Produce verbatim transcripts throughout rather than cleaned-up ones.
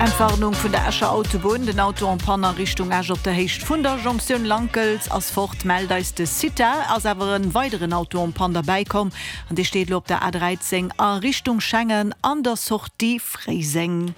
Entwarnung vun der Escher Autobunn, Den Auto en panne a Richtung Esch op der Héicht vun der Jonktioun Lankels ass fort, mellt eis de CITA. Ass awer en weideren Auto en panne derbäi komm an dee steet elo op der A dräizéng a Richtung Schengen an der Sortie Fréiseng.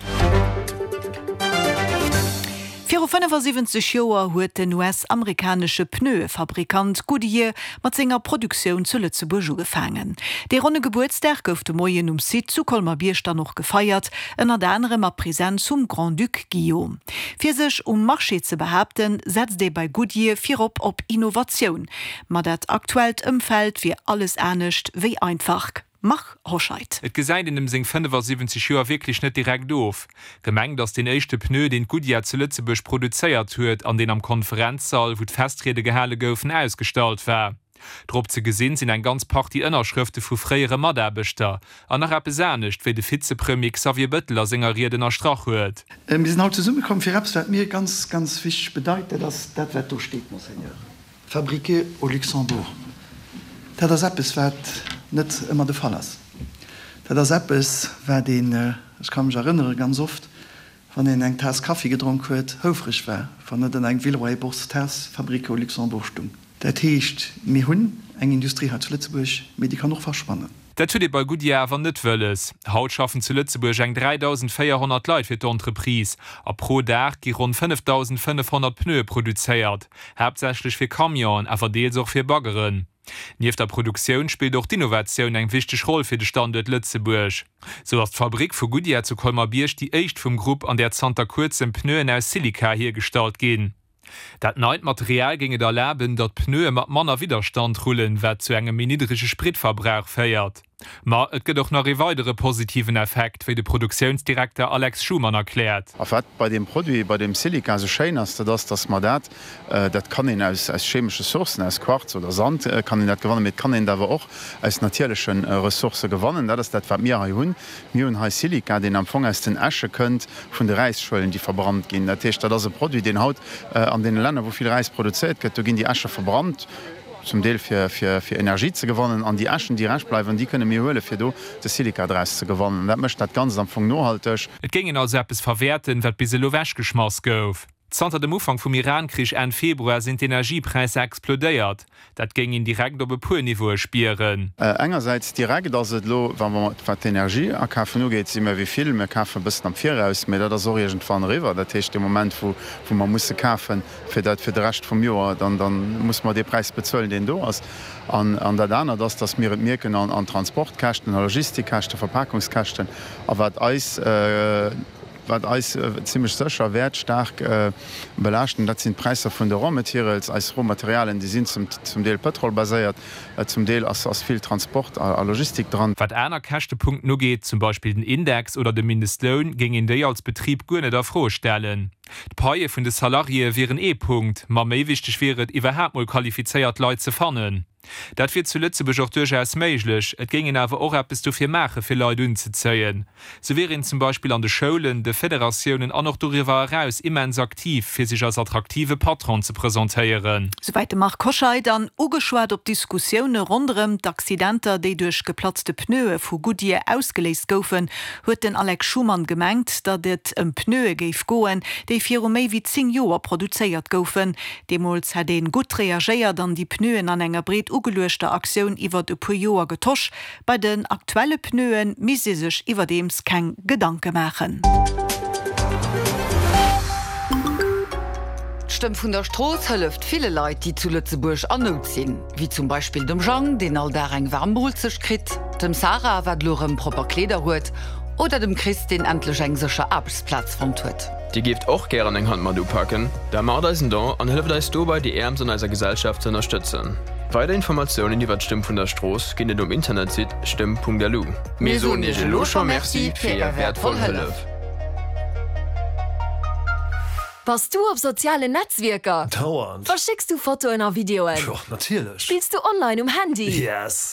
Viru fënnefasiwwenzeg Joer huet den U S-amerikanesche Pneuefabrikant Goodyear mat senger Produktioun zu Lëtzebuerg ugefaangen. Dee ronne Gebuertsdag gouf de Moien um Site zu Colmer-Bierg dann och gefeiert, ënnert anerem a Presenz vum Grand-Duc Guillaume. Fir sech um Marché ze behaapten, setzt ee bei Goodyear virop op Innovatioun. Ma dat aktuellt Ëmfeld wier alles anescht wéi einfach. Marc Hoscheid. Et gesäit een em seng fënnefasiwwenzeg Joer wierklech net direkt of. Gemengt ass deen éischte Pneu, deen d'Goodyear zu Lëtzebuerg produzéiert huet an deen am Konferenzsall, wou d'Festriede gehale goufen, ausgestallt war. Drop ze gesinn sinn eng ganz Partie Ënnerschrëfte vu fréiere Mataarbechter. An nach eppes anescht, wéi de Vizepremier Xavier Bëttel a senger Ried ënnerstrach huet. Mir sinn haut zesummekomm fir eppes, wat mir ganz, ganz wichteg bedeit. Dat ass dat, wat do steet, Monseigneur. Fabriqué au Luxembourg. Dat ass eppes, wat net ëmmer de Fall ass. Dat ass eppes, wat een, ech ka mech erënnere ganz oft, wann een eng Taass Kaffi gedronk huet, houfreg war, wann net an engem Villeroy-et-Boch-Taass Fabriqué au Luxembourg stung. Dat heescht, mir hunn eng Industrie hei zu Lëtzebuerg, mee déi kann och verschwannen. Dat huet ee bei Goodyear awer net wëlles. Haut schaffen zu Lëtzebuerg eng dräidausendvéierhonnert Leit fir d'Entreprise a pro Dag gi ronn fënnefdausendfënnefhonnert Pneue produzéiert, haaptsächlech fir Camionen, awer deels och fir Baggeren. Nieft der Produktioun spillt och d'Innovatioun eng wichteg Roll fir de Standuert Lëtzebuerg. Sou ass d'Fabrick vu Goodyear zu Colmer-Bierg déi éischt vum Grupp, an där zanter kuerzem Pneuen aus Silica hiergestallt ginn. Dat neit Material géing et erlaben, datt d'Pneue mat manner Widderstand rullen, wat zu engem méi niddrege Spritverbrauch féiert. Ma et gëtt och nach ee weidere positiven Effekt, wéi de Produktiounsdirekter Alex Schumann erkläert. A wat bei deem Produit, bei deem Silica esou schéin ass, dat ass, datt mer dat, dat kann een aus chemesche Sourcen, aus Quarz oder Sand kann een dat gewannen, mee et kann een et awer och aus natierleche Ressourcë gewannen. Dat ass dat, wat mir hei hunn. Mir hunn hei Silica, deen am Fong aus den Äsche kënnt vun de Räisschuelen, déi verbrannt ginn. Dat heescht, dat ass e Produit, deen haut an deene Länner, wou vill Räis produzéiert gëtt, do ginn déi Äsche verbrannt, zum Deel fir fir Energie ze gewannen. An déi Äschen, déi rescht bleiwen, déi kënne mir huelen, fir do de Silica draus ze gewannen. An dat mécht dat Ganzt am Fong nohalteg. Et géing een also eppes verwäerten, wat bis elo ewechgeschmass gouf. Zanter dem Ufank vum Iran-Krich Enn Februar sinn d'Energiepräisser explodéiert. Dat géing een direkt op e puer Niveaue spieren. Engersäits direkt ass et elo, wa mer, wat d'Energieakafen ugeet, si mir wéi vill, mir kafen e bëssen am Viraus, mä dat ass och iergendwann eriwwer. Dat heescht, dee Moment, wou wou mer musse kafen, fir dat fir de Rescht vum Joer, dann dann musse mer dee Präis bezuelen, deen do ass. An an dat anert ass, dass mir et mierken an an Transportkäschten, a Logistikkäschten, Verpakungskäschten a wat eis, Wat eis zimlech sécher wäert staark belaaschten, dat sinn d'Präisser vun de Raw Materials. Eis Rohmaterialien, déi sinn zum Deel pëtrolbaséiert, zum Deel ass vill Transport a Logistik dran. Wat aner Käschtepunkten ugeet, zum Beispill den Index oder de Mindestloun, géing een déi als Betrib guer net a Fro stellen. D'Paie vun de Salariéë wieren ee Punkt, ma méi wichteg wier et, iwwerhaapt mol qualifizéiert Leit ze fannen. Dat wier zu Lëtzebuerg och duerchaus méiglech, et géing een awer och eppes dofir maache fir Leit unzezéien. Sou wier een zum Beispill an de Schoulen, de Federatiounen an och doriwwer eraus immens aktiv, fir sech als attraktive Patron ze presentéieren. Souwäit de Marc Hoscheid. An ugeschwat op d'Diskussioune ronderëm d'Accidenter, déi duerch geplatzte Pneue vu Goodyear ausgeléist goufen, huet den Alex Schumann gemengt, datt et ëm Pneue géif goen, déi viru méi wéi zéng Joer produzéiert goufen. Deemools hätt ee gutt reagéiert an déi Pneuen an enger breet ugeluechter Aktioun iwwert e puer Joer getosch. Bei den aktuelle Pneue misst ee sech iwwerdeems keng Gedanke maachen. D'Stëmm vun der Strooss hëlleft ville Leit, déi zu Lëtzebuerg an Nout sinn. Wéi zum Beispill dem Jang, deen all Dag eng waarm Moolzecht kritt, dem Sarah, wat elo erëm propper Kleeder huet, oder dem Chris, deen endlech eng sécher Aarbechtsplaz fonnt huet. Dir géift och gären eng Hand mat upaken? Da maacht eis en Don an hëlleft eis dobei déi Äermst an eiser Gesellschaft ze ënnerstëtzen. Weider Informatiounen iwwert d'Stëmm vun der Strooss ginn et um Internetsite stëmm.lu. Mir soen Iech elo scho Merci fir Är wäertvoll Hëllef! Bass du op sozialen Netzwierker? Dauernd. Verschécks du Fotoen a Videoen? Jo, natierlech. Spills du online um Handy? Yes.